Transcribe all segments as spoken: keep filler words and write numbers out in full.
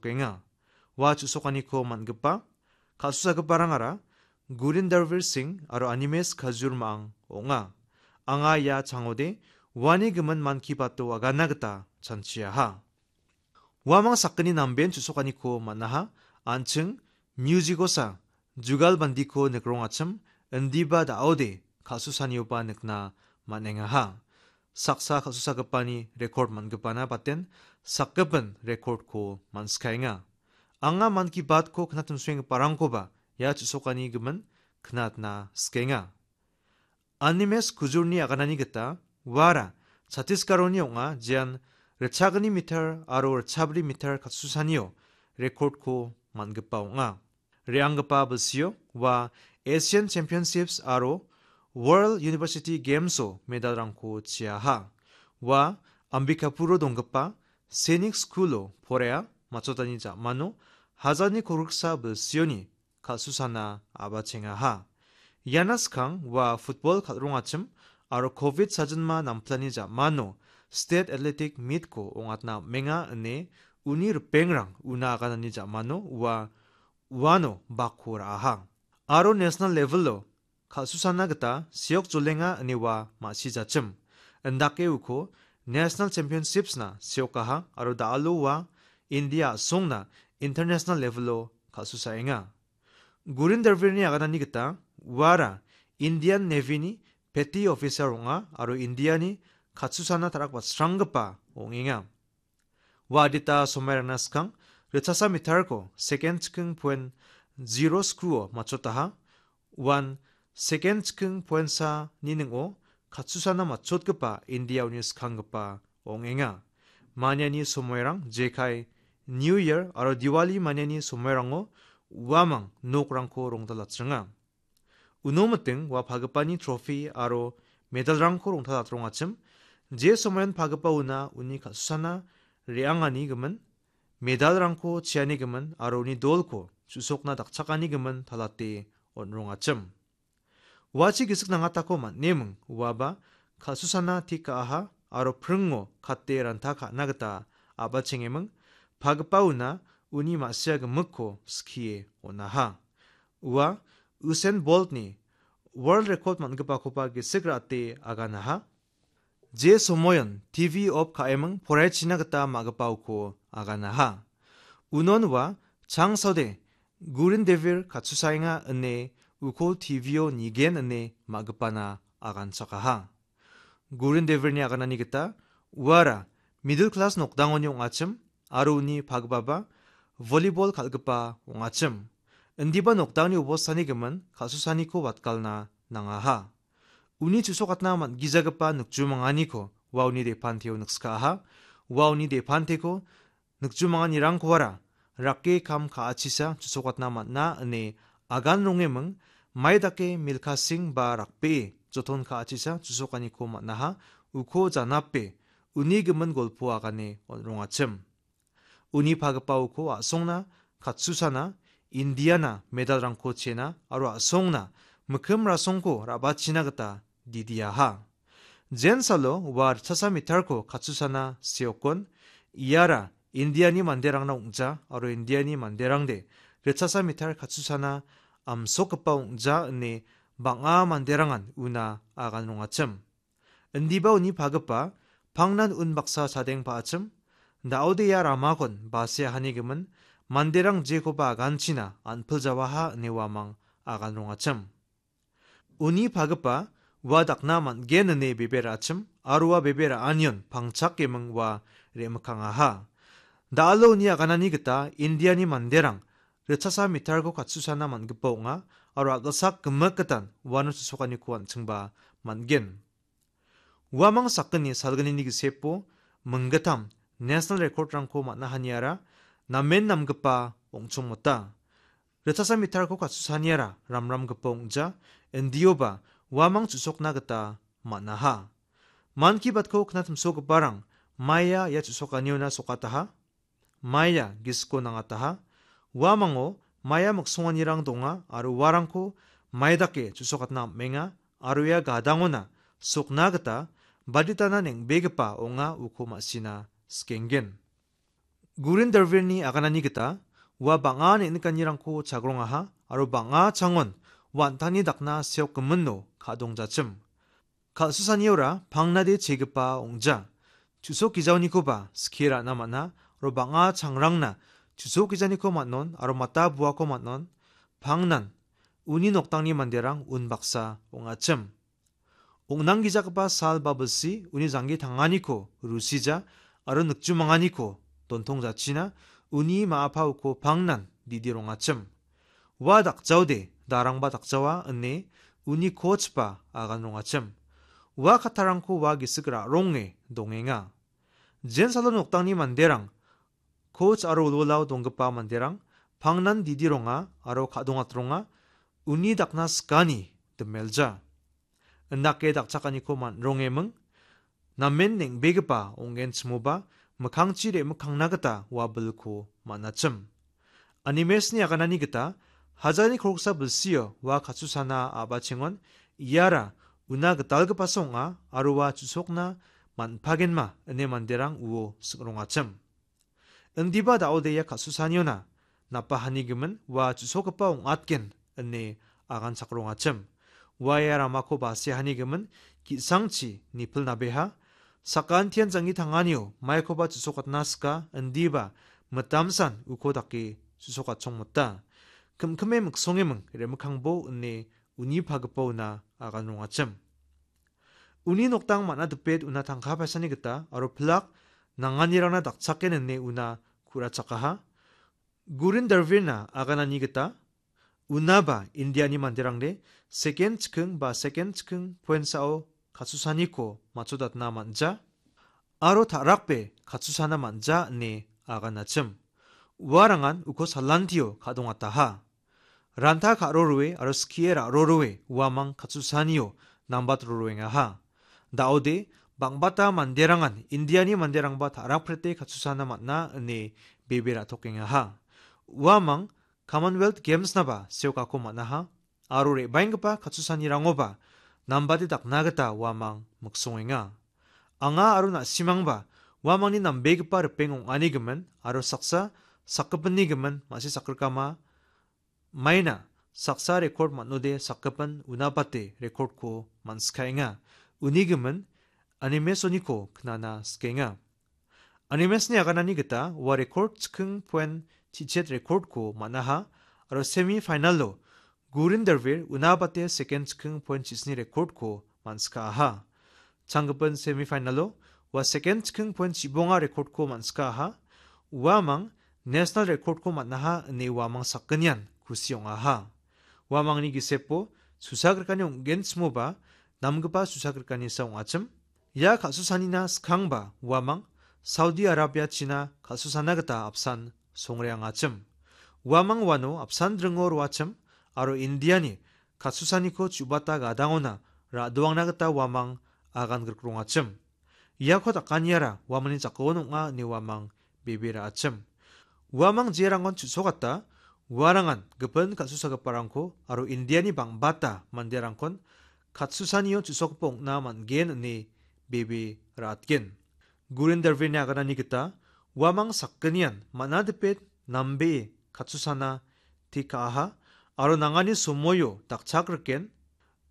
kenga. Ua chu·sokaniko man·gipa kal·susagiparangara Gurin Darvir Singh aro Animesh Khajur Ma·ang ong·a. Anga ia changode uani gimin Mann Ki Bato agana gita chanchiaha. Uamang sakgni namben chu·sokaniko man·aha, an·ching music-osa jugalbandiko nikrongachim, indiba da·ode kal·susanioba nikna man·engaha. Saksa kal·susagipani rekord man·gipana baten sakgipin rekordko man·skaenga. Anga Mann Ki Batko knatimsoenggiparangkoba ia chu·sokani gimin knatna sikenga. Animesh Khajurni aganani gita uara Chhattisgarhni ong·a, jean ritchagni meter aro ritchabri meter kal·susanio rekordko man·gipa ong·a. Re·anggipa bilsio ua Asian Championships aro World University Games-o medalrangko chiaha. Ua Ambikapuro donggipa Sainik School-o poraia matchotani ja·mano hajalni kolgriksa bilsioni kal·susana a·bachengaha. Iana skang ua football kal·rongachim aro covid sajilma namplani ja·mano State Athletic Meet-ko ong·atna am·enga ine uni ripengrang una aganani ja·mano ua uano bakko ra·aha. Aro national level-o kal·susana gita seokjolenga ine ua ma·sijachim. Indake uko National Championships-na seokaha aro da·alo ua India a·songna international level-o kal·susaenga. Gurin Darvirni aganani gita uara Indian Navy-ni petty officer ong·a aro Indiani kal·susana tarakbatsranggipa ong·enga. Ua adita somairangna skang ritchasa meterko second chiking point zero skuo matchotaha. Uan second chiking point sa ni ning·o kal·susana matchotgipa India-oni skanggipa ong·enga. Maniani somoirang jekai New Year aro Diwali maniani somoirango uamang nokrangko rongtalatchenga. Uno miting ua pagipani trophy aro medalrangko rongtalatrongachim. Je somoion pagipa una uni kal·susana re·angani gimin, medalrangko chiani gimin aro uni dolko chu·sokna dakchakani gimin talate on·rongachim. Uachi gisik nangatako man·eming, uaba kal·susana tik ka·aha aro pringo kate ranta ka·na gita a·bachengeming, pagipa una uni ma·sia gimikko skie on·aha. Ua Usain Boltni world record man·gipakoba gisik ra·ate aganaha. Je somoion T V off ka·eming poraichina gita ma·gipaoko aganaha. Unon ua changsode Gurin Devir katsusaenga ine uko T V-o nigen ine ma·gipana aganchakaha. Gurin Devirni aganani gita uara middle class nokdangoni ong·achim aro uni pagipaba volleyball kal·gipa ong·achim. Indiba nokdangni obostani gimin kal·susaniko watgalna nangaha. Uni chu·sokatna man·gijagipa nikjumanganiko ua uni depanteo nikskaaha. Ua uni depanteko nikjumanganirangkoara rake kam ka·achisa chu·sokatna man·a ine agan rongeming, mai dake milkasing ba rakbee joton ka·achisa chu·sokaniko man·aha, uko janape uni gimin golpo agane on·rongachim. Uni pagipa uko a·songna katsusana, Indiana medalrangko chena aro a·songna mikkim rasongko ra·bachina gita didiaha. Jensalo ua ritchasa meterko katsusana seokon, iara Indiani manderangna ong·ja aro Indiani manderangde ritchasa meter katsusana amsokgipa ong·ja ine bang·a manderangan una agan rongachim. Indiba uni pagipa pangnan unbaksa chadeng pa·achim, da·ode ia ramakon base ahanigimin manderang jekoba aganchina an·piljawaha ine uamang agan rongachim. Uni pagipa ua dakna man·gen ine bebe ra·achim aro ua bebe ra·anion pangchakeming ua re·mikangaha. Da·alo uni aganani gita Indiani manderang ritchasa meterko katsusana man·gipa ong·a aro a·gilsak gimik gitan uano chu·sokaniko an·chingba man·gen. Uamang sakgni salgnini gisepo minggittam national record-rangko man·a haniara namen namgipa ong·chongmota. Ritchasa meterko katsusaniara ramramgipa ong·ja, indioba uamang chu·sokna gita man·aha. Mann Ki Baat-ko knatimsogiparang maia ia chu·sokaniona sokataha. Maia gisiko nangataha. Uamango maia miksonganirang donga aro uarangko mai dake chu·sokatna am·enga aro ia gadangona sokna gita baditana neng·begipa ong·a uko ma·sina sikenggen. Gurin Darvirni aganani gita ua bang·a neng·nikanirangko chagrongaha aro bang·a changon wan·tangni dakna seokgiminno ka·dongjachim. Kal·susaniora pangnade chegipa ong·ja. Chusok gijaonikoba skie ra·na man·a, aro bang·a changrangna chusok gijaniko man·on, aro mata buako man·on, pangnan uni noktangni manderang unbaksa ong·achim. Ong·nanggijagipa sal ba bilsi uni janggi tanganiko rusija, aro nikjumanganiko dontongjachina, uni ma·a pa uko pangnan didi rongachim. Ua dakjaode darangba dakjawa ine uni coachba agan rongachim. Ua kattarangko ua gisik ra·ronge dongenga. Jensalo noktangni manderang, coach aro wilwilao donggipa manderang pangnan didi ronga aro ka·dongatronga, uni dakna sikani dimelja. Indake dakchakaniko man·rongeming, namen neng·begipa ong·genchimoba mikkangchi re·mikkangna gita ua bilko man·achim. Animesni aganani gita hajalni kolgsa bilsio ua katsusana a·bachengon iara una gitalgipasa ong·a aro ua chusokna man·pagenma ine manderang uo sing·rongachim. Indiba da·odeia ka·susaniona napahanigimin ua chusokgipa ong·atgen ine aganchakrongachim. Ua ia ramako basehanigimin ki·sangchi nipilnabeha, sakantian janggi tanganio maikoba chusokatna sika, indiba mitamsan uko dake chusokatchongmota. Kimkime miksongeming re·mikkangbo ine uni pagipaona agan rongachim. Uni noktang man·a dipet una tangka paisani gita aro pilak nanganirangna dakchaken ine una ku·rachakaha. Gurin Darvirna aganani gita unaba Indiani manderangde second chiking ba second chiking poensao katsusaniko matchodatna man·ja aro ta·rakbe katsusana man·ja ine aganachim. Uarangan uko salantio ka·dongataha. Ranta ka·roroe aro skie ra·roroe uamang katsusanio nambat roroengaha. Da·ode, bang·bata manderangan Indiani manderangba ta·rakprete katsusana man·a ine bebe ra·tokengaha. Uamang Commonwealth Games-naba seokako man·aha, aro re·baenggipa katsusanirangoba nambate dakna gita uamang miksongenga. Anga aro na·simangba uamangni nambegipa ripeng ong·anigimin aro saksa sakgipinnigimin ma·si sakrikama maina saksa rekord man·ode sakgipin unabate rekordko man·sikaenga. Unigimin Animesoniko knana sikenga. Animesni aganani gita ua rekord chiking poen chichet rekordko man·aha aro semi finalo Gurin Darvir unabate second chiking poen chisni rekordko man·sikaaha. Changgipin semi finalo ua second chiking poen chibonga rekordko man·sikaaha. Uamang national rekordko man·aha ine uamang sakgnian kusi ong·aha. Uamangni gisepo susagrikani ong·genchimoba namgipa susagrikanisa ong·achim. Ia ka·susanina skangba uamang Saudi Arabia-china ka·susana gita apsan songreangachim. Uamang uano apsan dringo roachim aro Indiani ka·susaniko chu·bata gadangona ra·doangna gita uamang agan grikrongachim. Iako dakaniara uamangni jakon ong·a ine uamang bebe ra·achim. Uamang jerangon chu·sokata, uarangan gipin ka·susagiparangko aro Indiani bang·bata manderangkon katsusanio chu·sokgipa ong·na man·gen ine bebe ra·atgen. Gurin Darvirni aganani gita uamang sakgnian man·a dipet nambee katsusana tekaha aro nangani somoio dakchakriken.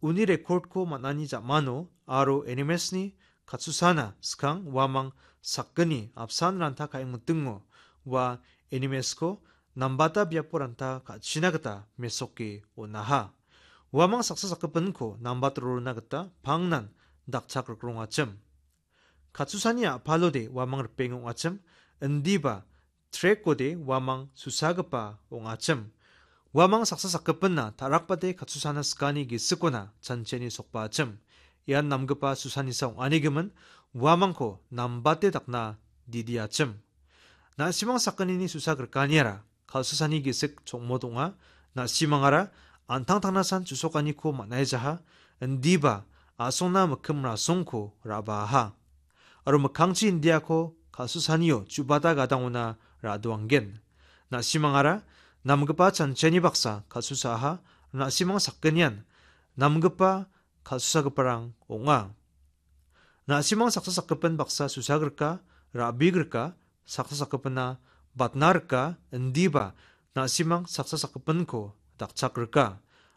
Uni rekordko man·ani ja·mano aro Animesni katsusana skang uamang sakgni apsan ranta ka·engmitingo ua Animesko nambata biapo ranta ka·china gita mesoke on·aha. Uamang saksa sakgipinko nambat rorona gita pangnan dakchakrikrongachim. Katsusani a·palode uamang ripeng ong·achim, indiba trekode uamang susagipa ong·achim. Uamang saksa sakgipinna ta·rakbate katsusana skani gisikona chancheni sokbaachim. Ian namgipa susanisa ong·anigimin uamangko nambate dakna didiachim. Na·simang sakgnini susagrikaniara kal·susani gisik chongmot ong·a. Na·simangara an·tangtangnasan chu·sokaniko man·aijaha, indiba a·songna mikkim rasongko ra·baaha. Aro mikkangchi Indiako kal·susanio chu·bata gadangona ra·doanggen. Na·simangara namgipa chancheni baksa kal·susaaha, na·simang sakgnian namgipa kal·susagiparang ong·a. Na·simang saksa sakgipin baksa susagrika, ra·bigrika, saksa sakgipina batna rika, indiba na·simang saksa sakgipinko dakchak rika.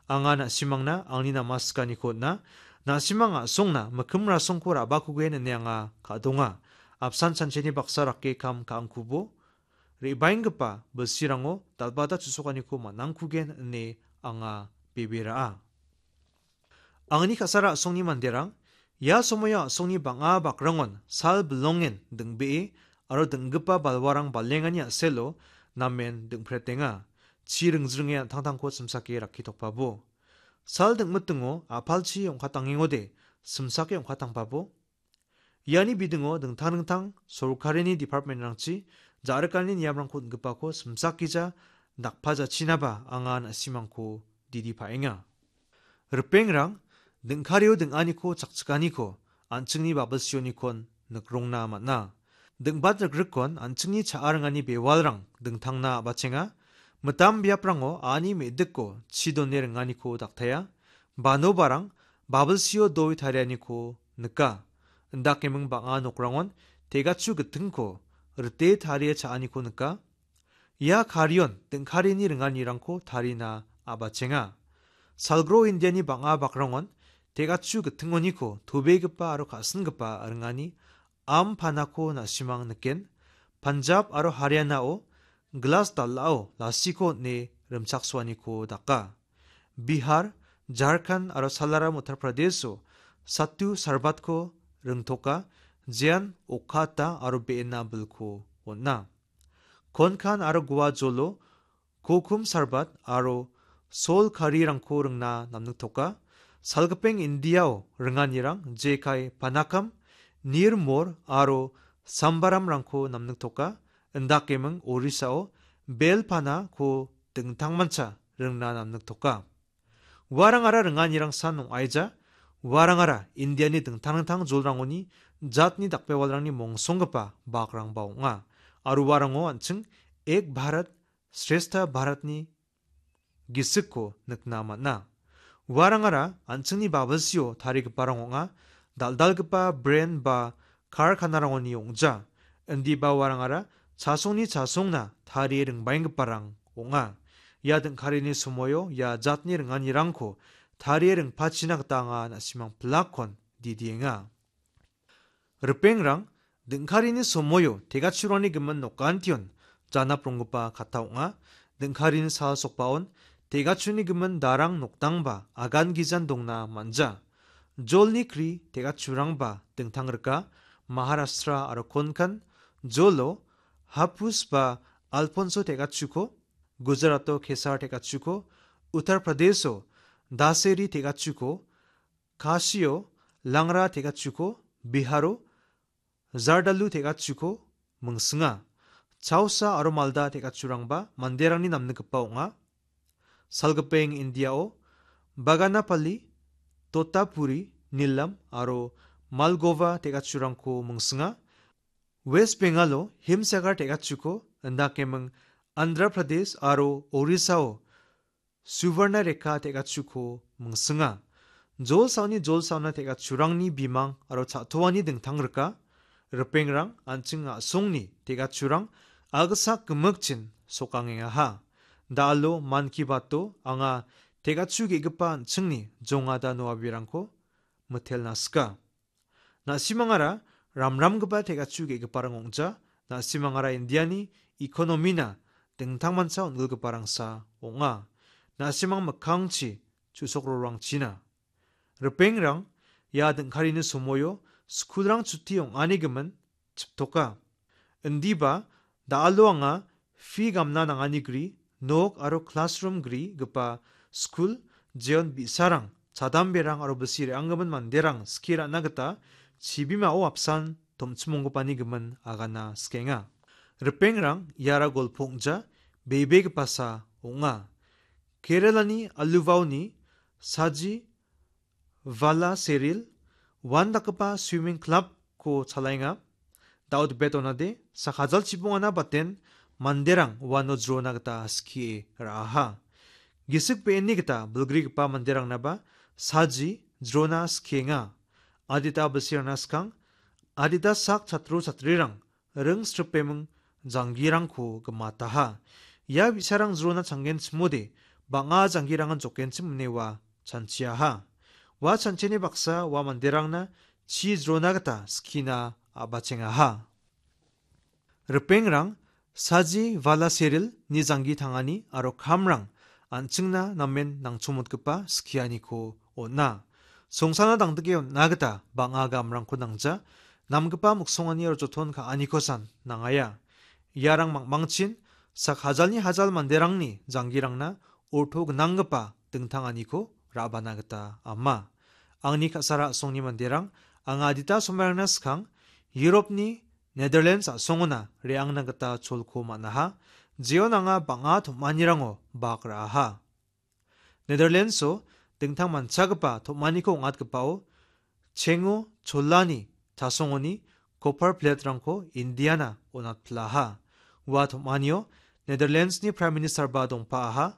Anga na·simangna angni namaskaniko on·a, na·simang a·songna mikkim rasongko ra·bakugen ine anga ka·donga. Apsan chancheni baksa rake kam ka·angkubo, re·baenggipa bilsirango dal·bata tusokaniko man·angkugen ine anga bebe ra·a. Angni ka·sara a·songni manderang, ia somoio a·songni bang·a bakrangon sal bilongen ding·bee aro ding·gipa balwarang balengani a·selo namen ding·pretenga. Chi ringzringe an·tangtangko simsake rakkitokbabo. Sal ding·mitingo a·palchi ong·katangengode simsake ong·katangpabo. Iani bidingo dingtang dingtang sorkarini department-rangchi ja·rikani niamrangko on·gipako simsakgija dakpajachinaba anga na·simangko didi pa·enga. Ripengrang, dingkario ding·aniko chakchikaniko an·chingni babilsionikon nikrongna man·a. Dingbat rikrikon an·chingni cha·a ringani bewalrang dingtangna a·bachenga. Mitam biaprango a·ani me·diko chi done ringaniko daktaia. Banobarang babilsio doi tarianiko nika. Indakeming bang·a nokrangon tegachu gittingko rite tarie cha·aniko nika. Ia karion dingkarini ringanirangko tarina a·bachenga. Salgro Indiani bang·a bakrangon tegachu gittingoniko tobegipa aro ka·singipa ringani am panako na·simang niken. Punjab aro Haryanao glas dal·ao lasiko on·e rimchaksoaniko daka. Bihar, Jharkhand aro Salaram Uttar Pradesho sattu sarbatko ringtoka, jean okata aro be·ena bilko on·a. Konkan aro Goa jolo kokum sarbat aro sol karirangko ringna namniktoka. Salgipeng Indiao ringanirang jekai panakam, nirmor aro sambaramrangko namniktoka. Indakeming Orisao bel panako dingtangmancha ringna namniktoka. Uarangara ringanirang san ong·aija. Uarangara Indiani dingtang dingtang jolrangoni jatni dakbewalrangni mongsonggipa bakrangba ong·a. Aro uarango an·ching Ek Bharat Shrestha Bharatni gisikko nikna man·a. Uarangara an·chingni babilsio tarigiparang ong·a, dal·dalgipa bren ba karkanarangoni ong·ja. Indiba uarangara chasongni chasongna tarie ringbaenggiparang ong·a. Ia dingkarini somoio ia jatni ringanirangko tarie ringpachina gita anga na·simang pilakkon didienga. Ripengrang, dingkarini somoio tegachurangni gimin nokantion janapronggipa katta ong·a. Dingkarini sal sokbaon tegachuni gimin darang nokdangba agan gijan dongna man·ja. Jolni kri tegachurangba dingtang rika. Maharashtra aro Konkan jolo Hapus ba Alfonso tegachuko, Gujarato Kesar tegachuko, Uttar Pradesho Daseri tegachuko, Kasio Langra tegachuko, Biharo Zardalu tegachuko mingsinga. Chausa aro Malda tegachurangba manderangni namnikgipa ong·a. Salgipeng Indiao Baganapalli, Totapuri, Nilam aro Malgova tegachurangko mingsinga. West Bengalo Himsagar tegachuko, indakeming Andhra Pradesh aro Orisao Suvarna Rekha tegachuko mingsinga. Jol saoni jol saona tegachurangni bimang aro cha·toani dingtang rika. Ripengrang, an·ching a·songni tegachurang agsak gimikchin sokangengaha. Da·alo Mann Ki Bato anga tegachu ge·gipa an·chingni jongada noabirangko mitelna sika. Na·simangara ramramgipa tegachu ge·giparang ong·ja. Na·simangara Indiani ekonomina dingtangmancha on·gilgiparangsa ong·a. Na·simang mikkangchi chusokrorangchina. Ripengrang, ia dingkarini somoio skulrang chuti ong·ani gimin chiptoka. Indiba, da·alo anga fi gamna nangani gri, nok aro classroom grigipa skul, jeon bi·sarang, chadamberang aro bisi re·anggimin manderang skie ra·na gita chibimao apsan tomchimonggipani gimin agana sikenga. Ripengrang, iara golpo ong·ja, bebegipasa ong·a. Keralani Aluvaoni Saji Vala Seril, uandakgipa swimming club-ko chalaenga. Daud bet onade, sakajal chibongana baten manderang uano jrona gita skie ra·aha. Gisik be·eni gita bilgrigipa manderangnaba saji jrona skienga. Adita bilsirangna skang, adita sak chatro chatrirang ring sripeming janggirangko gimataha. Ia bi·sarang jrona changgenchimode bang·a janggirangan jokgenchim ine ua chanchiaha. Ua chanchiani baksa ua manderangna chi jrona gita skina a·bachengaha. Ripengrang saji vala seril ni janggi tangani aro kamrang an·chingna namen nangchomotgipa skianiko on·a. Songsana dangdike on·na gita bang·a gamrangko nangja, namgipa miksongani aro joton ka·anikosan nangaia. Iarang mangmangchin sak hajalni hajal manderangni janggirangna orto gnanggipa dingtanganiko ra·bana gita ama. Angni ka·sara a·songni manderang anga adita somairangna skang Europni Netherlands a·songona re·angna gita cholko man·aha. Jeon anga bang·a tom·anirango bak ra·aha. Netherlandso dingtang manchagipa tom·aniko ong·atgipao chengo cholani tasongoni copper plate-rangko Indiana on·atpilaha. Ua tom·anio Netherlandsni Prime Minister-ba dongpaaha.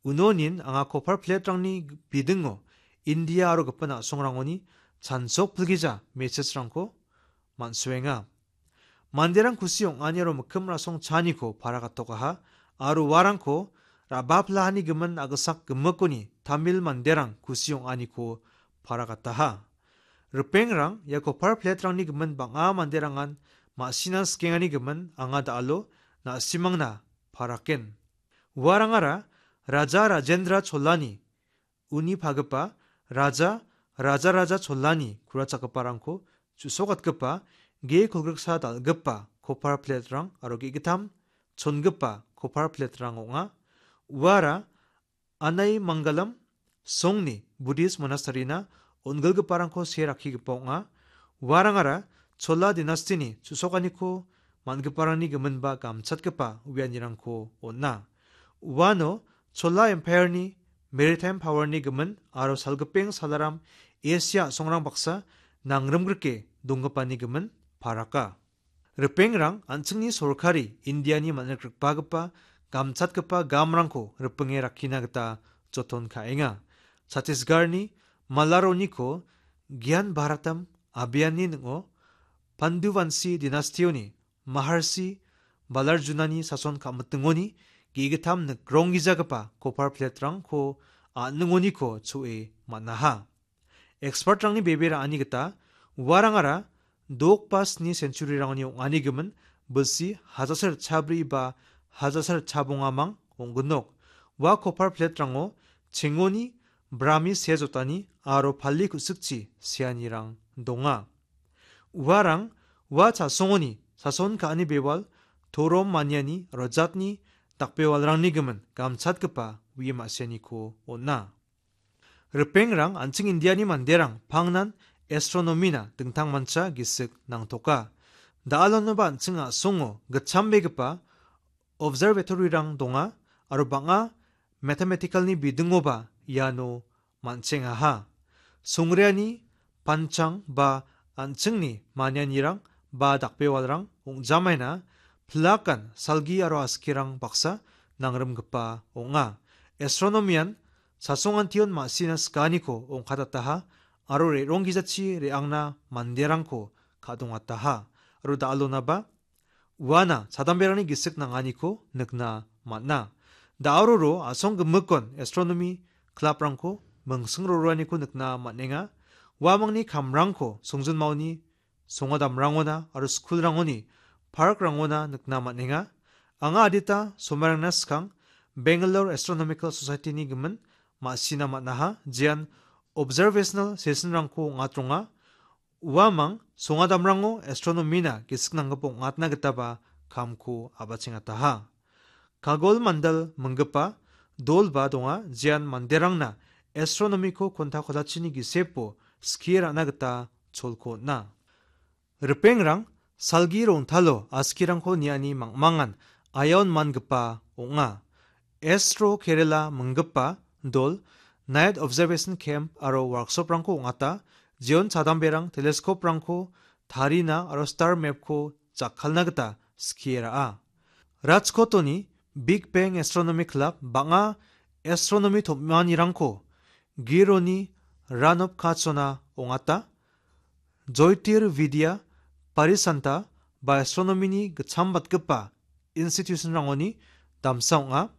Unonin anga copper plate-rangni bidingo India aro gipin a·songrangoni chansok pilgija message-rangko man·soenga. Manderang kusi ong·ani aro mikkim rasong chaaniko para gatokaha, aro uarangko ra·baplahani gimin a·gisak gimikoni Tamil manderang kusi ong·aniko para gataha. Ripengrang ia copper plate-rangni gimin bang·a manderangan ma·sina skengani gimin anga da·alo na·simangna paraken. Uarangara Raja Rajendra Cholani uni pagipa Raja, Raja Raja Cholani kurachakgiparangko chu·sokatgipa ge kolgriksa dal·gipa copper plate-rang aro ge·gittam chongipa copper plate-rang ong·a. Uara Anai Mangalam songni Buddhist monastery-na on·gilgiparangko see rakkigipa ong·a. Uarangara Chola dinastini chu·sokaniko man·giparangni giminba gamchatgipa uianirangko on·a. Uano Chola Empire-ni maritime power-ni gimin aro salgipeng salaram Asia a·songrang baksa nangrimgrike donggipani gimin paraka. Ripengrang an·chingni sorkari Indiani man·rikrikbagipa gamchatgipa gamrangko ripinge rakkina gita joton ka·enga. Chhattisgarhni Malaroniko Gyan Bharatam Abhiyanni ning·o Panduvanshi dinastioni Maharshi Balarjunani sason ka·mitingoni ge·gittam nikronggijagipa copper plate-rangko a·ningoniko cho·e man·aha. Expert-rangni bebe ra·ani gita uarangara dok ba sni century-rangni ong·ani gimin bilsi hajasar chabri ba hajasar chabongamang ong·ginok. Ua copper plate-rango chengoni, brami sea jotani aro pali ku·sikchi seanirang donga. Uarang ua chasongoni sason ka·ani bewal, torom maniani aro jatni dakbewalrangni gimin gamchatgipa uie ma·sianiko on·a. Ripengrang an·ching Indiani manderang pangnan astronomy-na dingtangmancha gisik nangtoka. Da·alonoba an·ching a·songo gitchambegipa observatory-rang donga aro bang·a mathematical-ni bidingoba iano man·chengaha. Songreani panchang ba an·chingni manianirang ba dakbewalrang ong·jamaina pilakan salgi aro askirang baksa nangrimgipa ong·a. Astronomy-an chasongantion ma·sina sikaniko ongkatataha aro re·ronggijachi re·angna manderangko ka·dongataha aro da·alonaba uana chadamberangni gisik nanganiko nikna man·a. Da·aroro a·song gimikon astronomy club-rangko mingsing roroaniko nikna man·enga. Uamangni kamrangko songjinmaoni songadamrangona aro skulrangoni parkrangona nikna man·enga. Anga adita somairangna skang Bangalore Astronomical Society-ni gimin ma·sina man·aha, jean observational session-rangko ong·atronga. Uamang songadamrango astronomy-na gisik nanggipa ong·atna gitaba kamko a·bachengataha. Kagol Mandal minggipa dolba donga, jean manderangna astronomy-ko konta kotachini gisepo skie ra·na gita cholko on·a. Ripengrang salgi rongtalo askirangko niani mangmangan aiaon mangipa ong·a. Astro Kerala minggipa dol night observation camp aro workshop-rangko ong·ata, jeon chadamberang telescope-rangko tarina aro star map-ko jakkalna gita skie ra·a. Rajkotoni Big Bang Astronomy Club bang·a astronomy tom·anirangko Gironi Ranop Kachona ong·ata. Joitir Vidya Parisanta ba astronomy-ni gitchambatgipa institution-rangoni damsa ong·a.